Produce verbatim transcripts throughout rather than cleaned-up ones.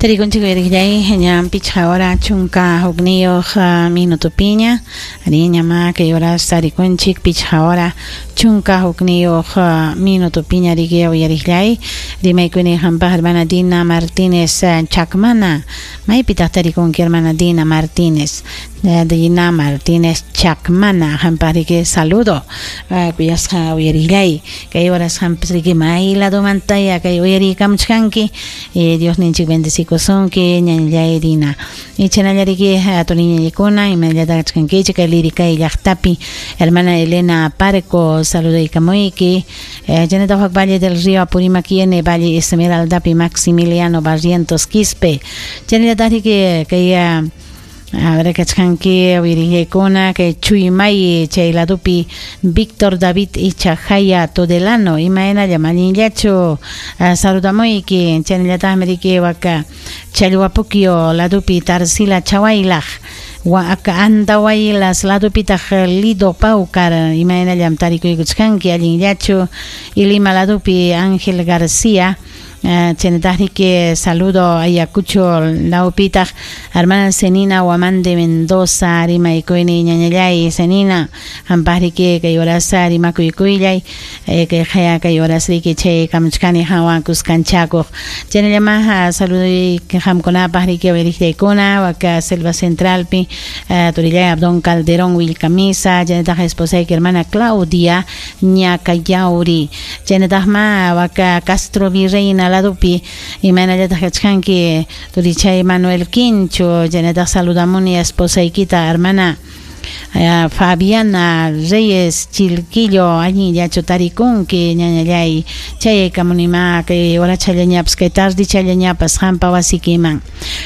Tarikunchik uyariqllay ña pichqa hora chunka hukniyuq minutupiña ari ñama kay horas tarikunchik pichqa hora chunka hukniyuq minutupiña riki uyariqllay rimaykuni hampaq hermana Dina Martínez Chacmana maypitaq tarikunki hermana Dina Martínez Dina Martínez Chacmana hampaq riki saludo kuyasqa uyariqllay kay horas hampas riki may ladomantaya kay uyariykamuchkanki Dios ninchik bendecikusunki ñañallay Dina ichanallariki turiñallikuna imanallata kachkankichik kay lirikay llaqtapi hermana Elena Parco saludaykamuyki chaynataq Valle del Río Apurímac N Valle Esmeraldapi Maximiliano Barrientos Quispe chaynallataq riki kay a ver kachkanki uyarillaykuna kay Chuymay chay ladupi Víctor David Ichajaya Todelano imaynalla allinllachu saludamuyki chaynallataqmi riki waka Challwapukyo ladupi Tarsila Chawaylaq waka Andahuaylas ladupitaq Lido Paucar imaynallam tarikuykuchkanki allinllachu Ilima ladupi Ángel García chaynataq riki saludo Ayacucho lawpitaq hermana Senina Huamande Mendoza rimaykuyni ñañallay Senina hampaq riki kay horas rimakuykuylay kay qaya kay horas riki chay kamuchkani hawan kuskanchakuq chaynallama saludoy qamkunapaq riki uyariqllaykuna waka Selva Centralpi turillay Abdón Calderón Wilcamisa chaynataq esposayki hermana Claudia Ñacayauri chaynataqma waka Castro Virreina ladupi imaynallataq kachkanki turichay Manuel Quincho chaynataq saludamuni esposaykita hermana Fabiana Reyes Chilquillo allinllachu tarikunki ñañallay chayaykamunima kay horachallañapas kay tardichallañapas hampa wasikiman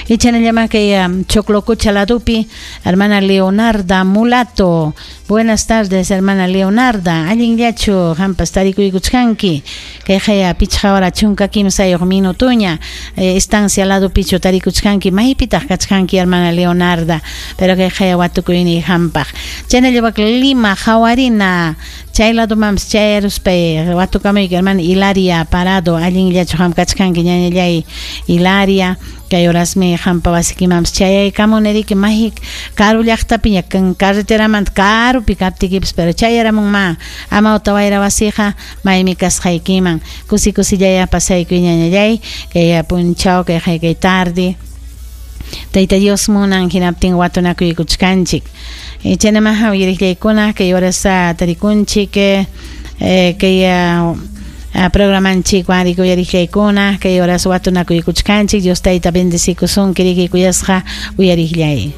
ichanallama kay Choclococha ladupi hermana Leonarda Mulato buenas tardes hermana Leonarda allinllachu hampas tarikuykuchkanki kay qaya pichqa hora chunka kimsayuq minutuña estancia ladupichu tarikuchkanki maypitaq kachkanki hermana Leonarda pero kay qaya watukuyni hampaq chaynallawak Lima Jawarina chay ladumanpas chayaruspay watukamuyki hermana Hilaria Parado allinllachu ham kachkanki ñañallay Hilaria kay horasmi hampa wasikimanpas chayaykamuni riki may karu llaqtapiña carreteramanta karupi kaptikipas pero chayaramunma amawta wayra wasiqa maymi kasqaykiman kusi kusillaya pasaykuy ñañallay kay punchaw kay kay tarde Tayta Dios munan hinaptin watunakuykuchkanchik chaynamaqa uyariqllaykuna kay horas tarikunchik kay programanchik riki uyariqllaykuna kay horas watunakuykuchkanchik Dios tayta bendecikusunki riki kuyasqa uyariqllay.